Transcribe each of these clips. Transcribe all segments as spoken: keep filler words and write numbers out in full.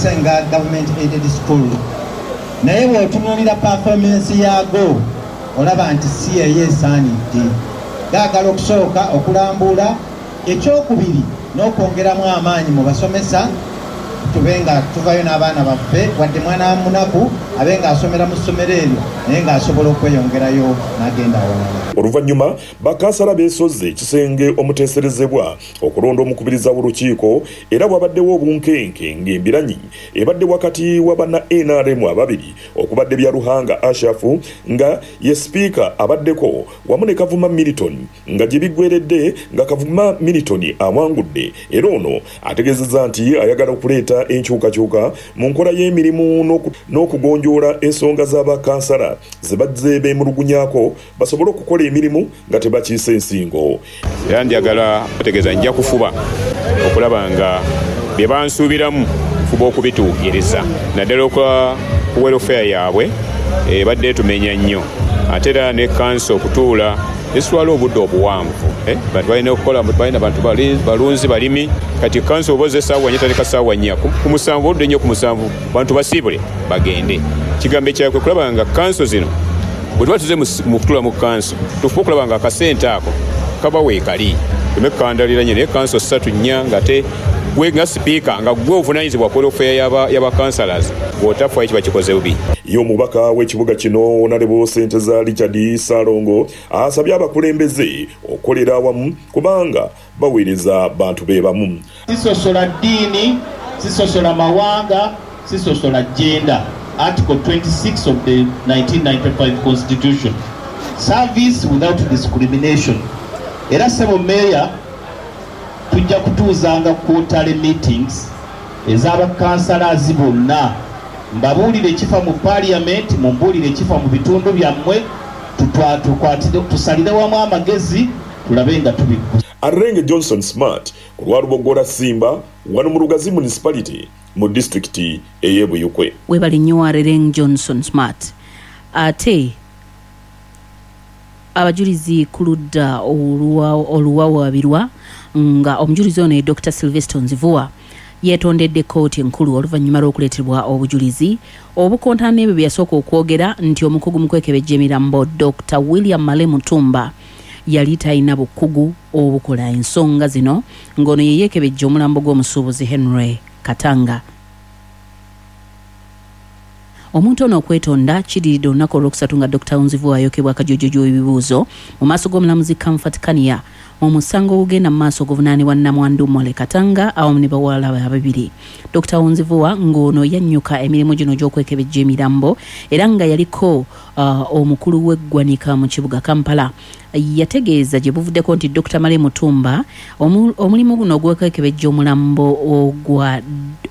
Okusinga government aided school, naye bw'otunuulira performance yaago, olaba nti si yeyo esaanidde. Gaagala okusooka okulambuula, ekyokubiri n'okwongeramu amaanyi mu basomesa, tube nga tuvayo n'abaana baffe, wadde mwana wa munaku abe ng'asomera mu ssomero eryo, naye ng'asobola okweyongerayo n'agenda awalala. Oluvannyuma bakansala beesozze ekisenge omuteeserezebwa okulonda omukubiriza w'olukiiko, era bwabaddewo obunkenke ng'embiranyi ebadde wakati wa banna N R M ababiri okubadde Byaruhanga Ashafu nga ye sipiika abaddeko wamu ne Kavuma Milton, nga gye biggweredde nga Kavuma Milton awangudde. Era ono ategeezezza nti ayagala okuleeta enkyukakyuka mu nkola y'emirimu n'okugonjoola ensonga z'abakansala ze bazze beemulugunyaako, basobole okukola emirimu nga tebakiisa ensingo. Era njagala otegeeza, nja kufuba okulaba nga bye bansuubiramu nfuba okubituukiriza, naddala okwa ku welfare yaabwe ebadde etumenya nnyo. Ate era ne kanso okutuula esitwala obudde obuwanvu, eh, bantu balina okukola, balina bantu balunzi, balimi. Kati kanso oba ozza essaawa nnya, tandika ssaawa nnya, ku musanvu oludde nnyo, ku musanvu bantu basiibule bagende. Kigambo ekyakwe kulaba nga kanso zino bwe tuba tuze mu kutuula mu kanso, tufuba okulaba nga akasente ako kaba weekali, tume kukandalira nnyo. Naye kanso ssatu, nnya, ng'ate gwe nga sipiika nga gwe ovunaanyizibwa ku welfare y'abakansalas, bw'otafayo kiba kikoze bubi. Ye omubaka w'ekibuga kino, Honorable Senteza Richard Ssalongo, asabye abakulembeze okukolera awamu kubanga baweereza bantu be bamu. Sisosola ddiini, sisosola mawanga, sisosola gender. Article twenty-six of the nineteen ninety-five Constitution, service without discrimination. Era ssebo meeya, tujja kutuuzanga quarterly meetings ez'abakansalazi bonna, mbabuulire ekifa mu parliament, mumbuulire ekifa mu bitundu byammwe, tusalire wamu amagezi, tulabe nga tubiggusa. Arenge Johnson Smart ku lwa Lubogola Simba, wano mu Lugazi Municipality mu disitulikiti ey'e Buyukwe. Webale nnyo, Arereng Johnson Smart. Ate abajulizi ku ludda oluwawaabirwa, nga omujulizi ono ye Doctor Sylvester Nzivua, yeetondedde kkooti enkulu oluvannyuma lw'okuleetebwa obujulizi obukontana n'ebyo bye yasooka okwogera, nti omukugu mu kwekebejja emirambo Doctor William Male Mutumba yali talina bukugu obukola ensonga zino, ng'ono ye yeekebejja omulambo gw'omusuubuzi Henry Katanga. Omuntu ono okwetonda kidiridde olunaku olwokusatu nga Doctor Nzivua ayokebwa akajojojo ebibuuzo mu maaso g'omulamuzi Comfort Kania mu musango ogugenda mu maaso oguvunaanibwa Namwandu Mole Katanga awamu ne bawala be ababiri. Doctor Nzivua, ng'ono yannyuka emirimu gino gy'okwekebejja emirambo era nga yaliko uh, omukulu w'eggwanika mu kibuga Kampala, yategeeza gye buvuddeko nti Doctor Male Mutumba omulimu guno ogw'okwekebejja omulambo ogwa,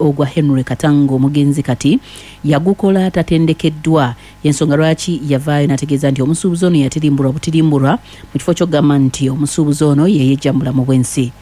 ogwa Henry Katanga omugenzi kati yagukola tatendekeddwa, yensonga lwaki yavaayo n'ategeeza nti omusuubuzi ono yatirimbulwa butirimbulwa, mu kifo ky'okugamba nti omusuubuzi ono yeyejja mu bulamu bw'ensi.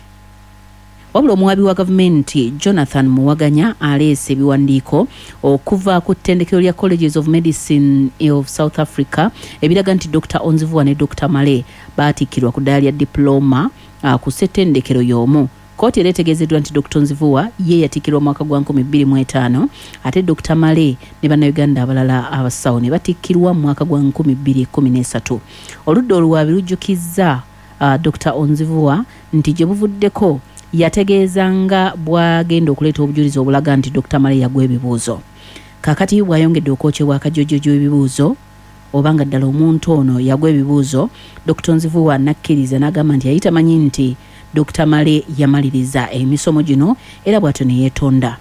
Wabula omuwabi wa gavumenti Jonathan Muwaganya aleese ebiwandiiko okuva ku ttendekero lya Colleges of Medicine of South Africa ebiraga nti Doctor Onzivua ne Doctor Male baatikkirwa ku ddaala lya diploma uh, ku ssettendekero y'omu. Kkooti era etegeezeddwa nti Doctor Nzivua ye yatikkirwa mwaka gwa nkumi bbiri mu etaano, ate Doctor Male ne Bannayuganda abalala abasawo ne batikkirwa mu mwaka gwa nkumi bbiri kkumi n'esatu. Oludda oluwaabi lujjukizza uh, Doctor Onzivua nti gye buvuddeko yategeeza nga bw'agenda okuleeta obujulizi obulaga nti Doctor Male yagwa ebibuuzo. Kaakati bw'ayongedde okwokyebwa akajojojo ebibuuzo oba nga ddala omuntu ono yagwa ebibuuzo, Doctor Nzivua nakkiriza n'agamba nti yali tamanyi nti Doctor Male yamaliriza emisomo gino, era bw'atyo ne yeetonda.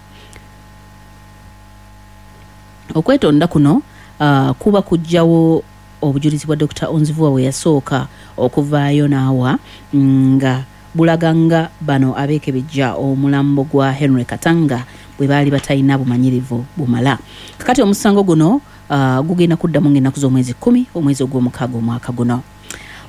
Okwetonda kuno uh, kuba kuggyawo obujulizi bwa Doctor Onzivua bwe yasooka okuvaayo n'awa, nga bulaga nga bano abeekebejja omulambo gwa Henry Katanga bwe baali batalina bumanyirivu bumala. Kakati omusango guno uh, gugenda kuddamu ng'ennaku z'omwezi kkumi omwezi ogw'omukaaga omwaka guno.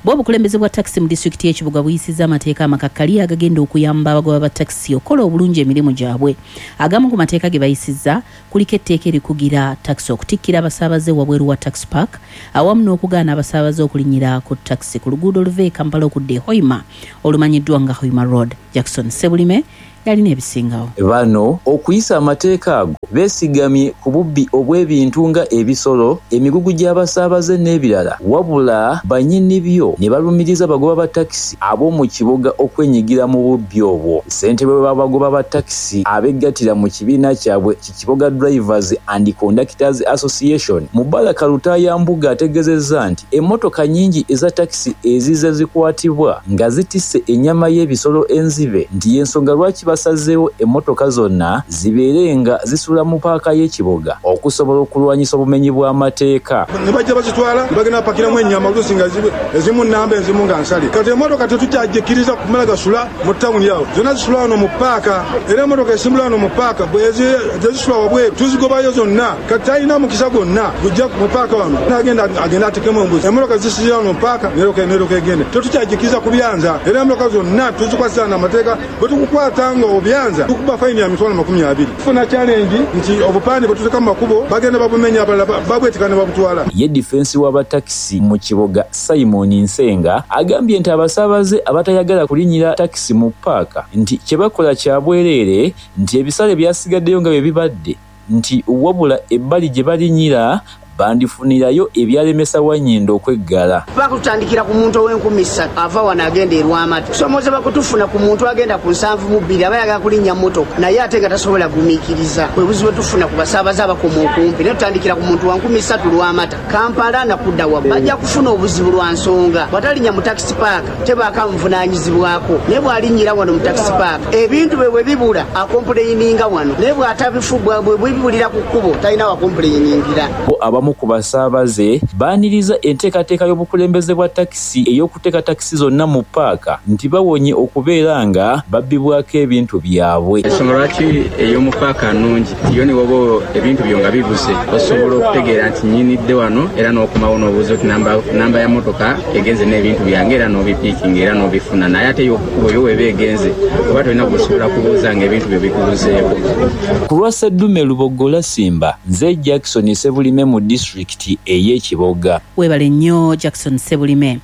Bwe obukulembeze bwa takisi mu disitulikiti y'ekibuga buyisizza amateeka amakakkali agagenda okuyamba abagoba ba takisi okukola obulungi emirimu gyabwe. Agamu ku mateeka ge bayisizza kuliko etteeka erikugira takisi okutikkira abasaabaze wabweru wa taxi park, awamu n'okugaana abasaabaze okulinnyira ku takisi ku luguudo oluva e Kampala okudda e Hoima, olumanyiddwa nga Hoima Road. Jackson Sebulime Yalina ebisingawo. Bano okuyisa amateeka ago beesigamye ku bubbi obw'ebintu nga ebisolo, emigugu gy'abasaabaze n'ebirala, wabula bannyini byo ne balumiriza abagoba ba takisi ab'omu kibuga okwenyigira mu bubbi obwo. Ssentebe w'abagoba ba takisi abeggatira mu kibiina kyabwe ki Kiboga Drivers and Conductors Association, Mubaraka Lutaaya Mbuga, ategeezezza nti emmotoka nnyingi eza takisi ezize zikwatibwa nga zitisse ennyama y'ebisolo enzibe, nti y'ensonga lwaki basazeewo emmotoka zonna zibeere nga zisula mu paaka y'ekibuga okusobola okulwanyisa obumenyi bw'amateeka. Ne bajja bazitwala ne bagenda bapakiramu ennyama oluusi nga ezimu nnamba, ezimu nga nsale. Kati emmotoka tetukyagikkiriza kumala gasula mu tawuni awo, zonna zisula wano mu paaka, era emmotoka esimbula wano mu paaka tezisula wabweru, tuzigobayo zonna. Kati talina mukisa gwonna gujja mu paaka wano nagenda agenda atekemu embuzi. Emmotoka zisizira wano mu paaka neroka egende, tetukyagikkiriza kubyanza, era emmotoka zonna tuzikwasisa n'amateeka. Bwe tukukwata nga obyanza tukuba fayini ya mitwalo makumi abiri. Tufuna challenge nti obupande bwe tuteeka mu makubo bagenda babumenya, abalala babwetika ne babutwala. Ye difensi w'abatakisi mu Kiboga Simon Nsenga agambye nti abasaabaze abatayagala kulinnyira takisi mu paaka nti kye bakola kya bwereere, nti ebisale byasigaddeyo nga bye bibadde, nti wabula ebbali gye balinnyira bandifunirayo ebyalemesa Wannyindo okweggala. Bakutandikira ku muntu ow'enkumi ssatu ava wano agenda e Lwamata. Kusomooza bakutufuna ku muntu agenda ku nsanvu mu bbiri aba ayagala kulinnya mmotoka naye ate nga tasobola gumiikiriza. Bwe buzibu tufuna ku basaabaze abakoma okumpi, naye tutandikira ku muntu wa nkumi ssatu Lwamata, Kampala nakudda waggulu. Bajja kufuna obuzibu lwa nsonga, bw'atalinnya mu takisi paaka tebaako amuvunaanyizibwako, naye bw'alinnyira wano mu takisi paaka ebintu bwe bwe bibula akompuleyininga wano, naye bw'atabifu bwe bibulira ku kkubo talina wakompuleyiningira. Abamu ku basaabaze baaniriza enteekateeka y'obukulembeze bwa takisi ey'okuteeka takisi zonna mu paaka, nti bawonye okubeera nga babbibwako ebintu byabwe. Ensonga lwaki ey'omu paaka nnungi, yo ne woba ebintu byo nga bibuze osobola okutegeera nti nnyinidde wano, era n'okomawo n'obuuza oti namba ya mmotoka egenze n'ebintu byange, era n'obipiikinga era n'obifuna. Naye ate ey'okukubo yo weeba egenze oba tolina kusobola kubuuza ng'ebintu byo bikubuzeeko. Ku lwa Sseddume Lubogola Simba, nze Jackson Sebulime mu disitulikiti ey'Ekiboga. Weebale nnyo Jackson Sebulime.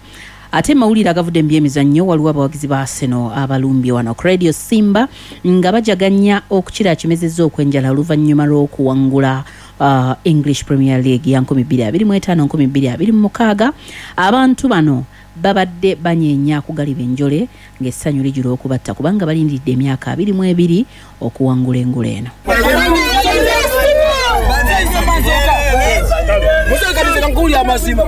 Ate mawulire agavudde mu byemizannyo, waliwo abawagizi ba Arsenal abalumbye wano ku Radio Simba nga bajaganya okukira kimezezza okwenjala oluvannyuma lw'okuwangula uh, English Premier League ya nkumi bbiri abiri mu etaano nkumi bbiri abiri mu mukaaga. Abantu bano babadde banyeenya kugaliba enjole ng'essanyu lijula okubatta kubanga balindiridde emyaka abiri mu ebiri okuwangula engule eno. Nkuwulira amazima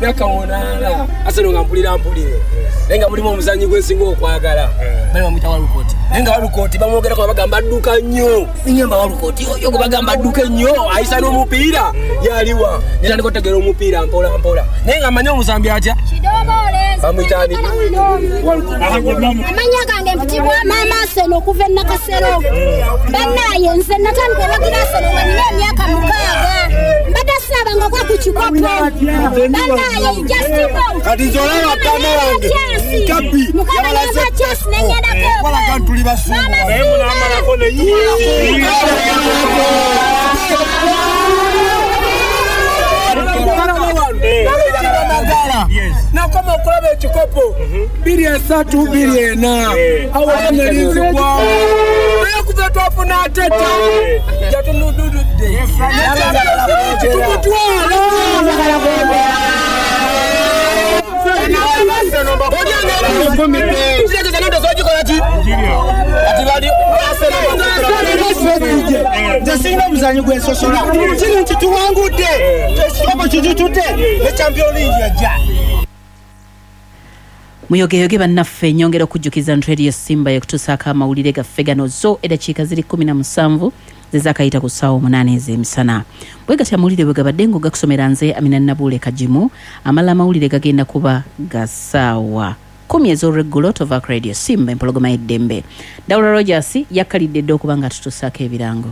myaka munaana Arsenal nga mpulira mpulire, naye nga mulimu omuzannyi gwe nsinga okwagala bali bamuyita Walcott, naye nga Walcott bamwogerako bagamba adduka nnyo, nyamba Walcott oyo gwe bagamba adduka ennyo ayisa n'omupiira yaliwa, netandika otegeera omupiira mpola mpola, naye nga mmanyi omuzambi atya bamuyita ani? Amanya gange mpitibwa Maama Arsenal okuva e Nakasero. Bannaye nze natandika owagira Arsenal nga nina emyaka mukaaga, mbadde saabanga kwa ku kikopo. Bannaye just know kati nze olaba ttama wange kabbi mukama yampa chance nengendako wala tuli basumba nakoma okulaba ekikopo bbiri esatu bbiri ena awo nelinzigwawo naye okuva twafuna Arteta jatunudududde tukutwala. Nze sirina omuzannyi gwensosola, kiri nti tuwangudde ekikopo kijutudde ne Champions League yajja. Muyogeyoge bannaffe, nyongera okujjukiza nti Radio Simba yekutuusaako amawulire gaffe gano zo eddakiika ziri kkumi na musanvu zezakayita ku ssaawa omunaana ez'emisana. Bwe gatyo amawulire bwe gabadde ng'ogakusomera nze Amina Nabuule Kagimu. Amala amawulire gagenda kuba ga ssaawa kkumi ez'olweggulo. Tova ku Radio Simba, empologoma y'eddembe. Dawula Rogers yakkalidde dda okuba nga tutuusaako ebirango.